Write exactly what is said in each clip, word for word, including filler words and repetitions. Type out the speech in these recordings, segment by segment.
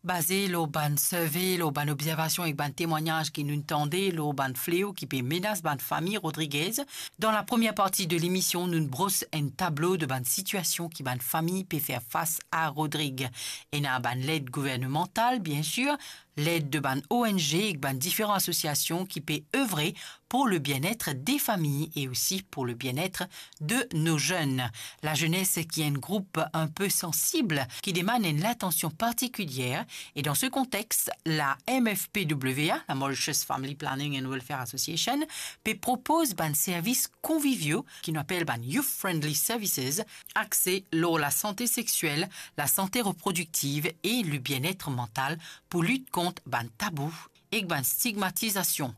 Baze lor bann survey, lor bann obzervasion ek bann temwagnaz ki nou'nn tande lor bann fleo ki pe menas bann fami Rodriguez, dan la premie parti de lemision, nou'nn bros enn tablo de bann sitiasion ki bann fami pe fer fas a Rodrig. Ena bann led gouvernemantal, biensir, led de bann O N G ek bann diferan asosiasion ki pe evre pour le bien-être des familles et aussi pour le bien-être de nos jeunes. La jeunesse, qui est un groupe un peu sensible, qui demande une attention particulière, et dans ce contexte, la M F P W A, la Mauritius Family Planning and Welfare Association, pe propoz bann servis konvivio ki nou apel bann Youth Friendly Services, axe lor la sante sexiel, la sante reprodiktiv e le bien-être mantal pou lit kont bann tabou ek bann stigmatizasion.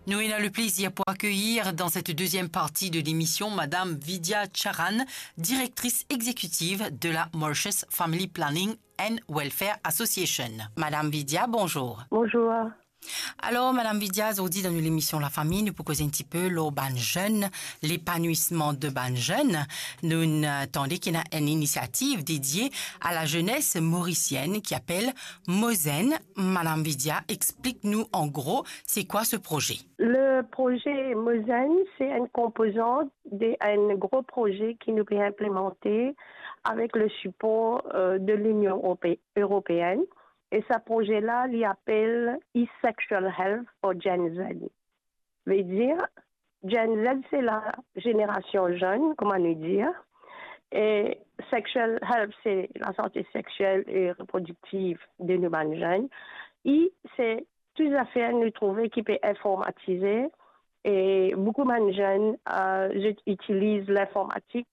Nou ena le plezir pou akeyir dan set deziem parti de lemision Madam Vidya Charan, direktris exekitiv de la Mauritius Family Planning and Welfare Association. Madam Vidya, bonzour. Bonzour. Alor, Madam Vidya, zordi dan nou lemision Lafami, nou pou koz enn tipe lor bann zenn, lepanwisman de bann zenn. Nou'nn, eh, tande ki ena enn inisiativ dedie a la zenes morisienn ki apel Mozenn. Madam Vidya, explik nou an gro, se kwa se proze? Le proze Mozenn, se enn konpozant de enn gro proze ki nou pe inplemante avek le sipor, eh, de Linion Erope-, Eropeenne. E sa proze la, li apel E-Sexual Health for Gen Z. Vedir, Gen Z, se la zenerasion zenn, kouma nou dir. E sexual health, se lasante sexiel e reprodiktiv de nou bann zenn. E se tou zafer nou trouve ki pe informatize, e boukou bann zenn, eh, zot itiliz linformatik,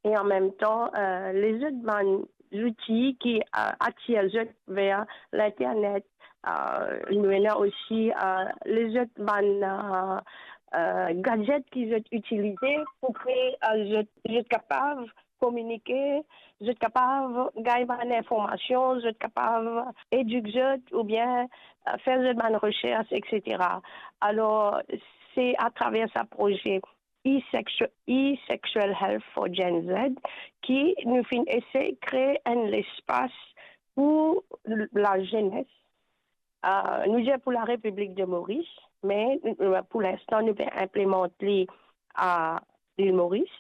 e an mem tan, eh, lezot bann zouti ki, eh, atir zot ver linternet. Eh, nou ena osi, eh, lezot bann, eh, eh, gadget ki zot itilize pou ki, eh, zot, zot kapav kominike, zot kapav gagn bann informasion, zot kapav edik zot oubien, eh, fer zot bann resers, et cetera. Alor, se atraver sa proze E-Sexu-, E-Sexual Health for Gen Z ki nou finn esey kree enn lespas pou l-, lazenes. Eh, nou dir pou Larepiblik de Moris, me, eh, pou linstan, nou pe inplemant li a Lil Moris.